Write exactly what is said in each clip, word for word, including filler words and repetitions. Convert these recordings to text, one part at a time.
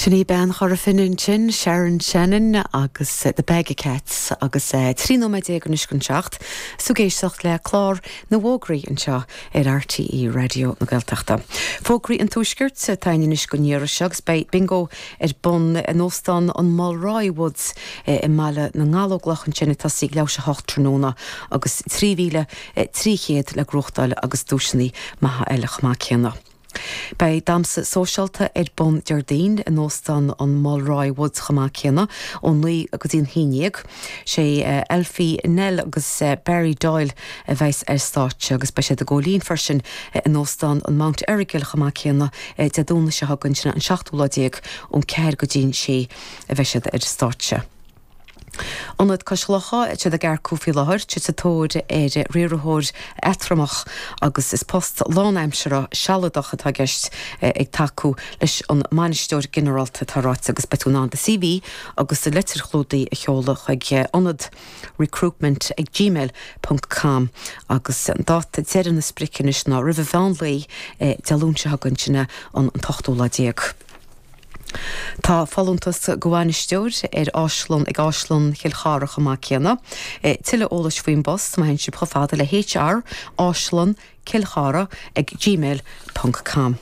Sin í bean Chora Finne ansin, Sharon Shannon agus The Bag of Cats agus trí nóiméad déag anois chun seacht, is tú ag éisteacht le clár na bhfógraí anseo ar RTÉ Raidió na Gaeltachta. Fógraí an Tuaiscirt atá anois don iarraidh seo agus beidh bingo ar bun in óstán an Mulroy Woods i mBaile na nGallóglach ansin ag tosaí ag leathuair théis a hocht tráthnóna agus trí mhíle trí chéad le gnóthachtáil agus duaiseanna maithe eile chomh maith céanna. Beidh damhsa sóisialta ar bun Déardaoin in óstán an Mulroy Woods chomh maith céanna ó naoi go dtí an haon déag. Sé Elfie Nell agus Barry Doyle a bheas ar stáitse agus beidh siad i gCóilín freisin in óstán an Mount Errigal chomh maith céanna Dé Domhnaigh seo chugainn sin an seachtú lá déag ón ceathair go dtí an sé a bheidh siad ar stáitse. Ionad Cois Locha siad ag earcú faoi láthair, siad sa tóir ar riarthóir eatramhach agus is post lánaimseartha sealadach atá i gceist ag tacú leis an mbainisteoir ginearálta atá ráite agus beidh tú in ann do CV agus do litir chlúdaigh a sheoladh chuig ionad recruitment ag gmail ponc com agus an dáta deireadh na sprice anois ná roimh an mheán lae Dé Luain seo chugainn sin an t-ochtú lá déag. Tá folúntas do bhainisteoir ar áislann ag Áislann Chill Chartha chomh maith céanna. Tuilleadh eolais faoin bpost má théann sibh chomh fada le HR áislann Cill Chartha ag gmail ponc com.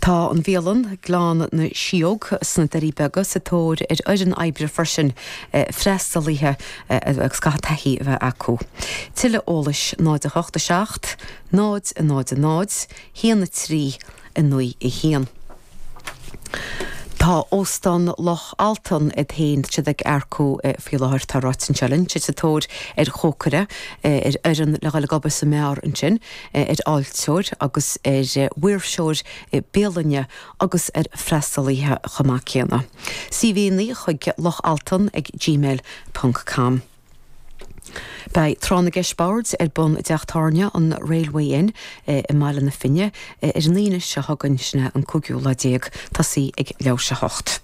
Tá an bhialann Gleann na Sióg sna Doirí Beaga sa tóir ar fhoireann oibre freisin freastalaithe agus caithfidh taithí a bheith acu. Tuilleadh eolais náid a hocht a seacht, náid a náid a náid, haon a trí, a naoi a haon. Tá Óstán Loch Altan iad féin siad ag earcú faoi láthair tá ráite anseo linn, siad sa tóir ar chócaire, ar fhoireann le dhul ag obair sa mbeár ansin, ar fháilteoir agus ar mhaoirseoir bialainne agus ar freastalaithe chomh maith céanna. CVanna chuig Loch Altan ag gmail ponc com. Beidh Tráth na gCeist Boird ar bun i dteach tábhairne an Railway Inn i mBaile na Finne ar an Aoine seo chugainn sin an cúigiú lá déag tosaí ag leathuair théis a hocht.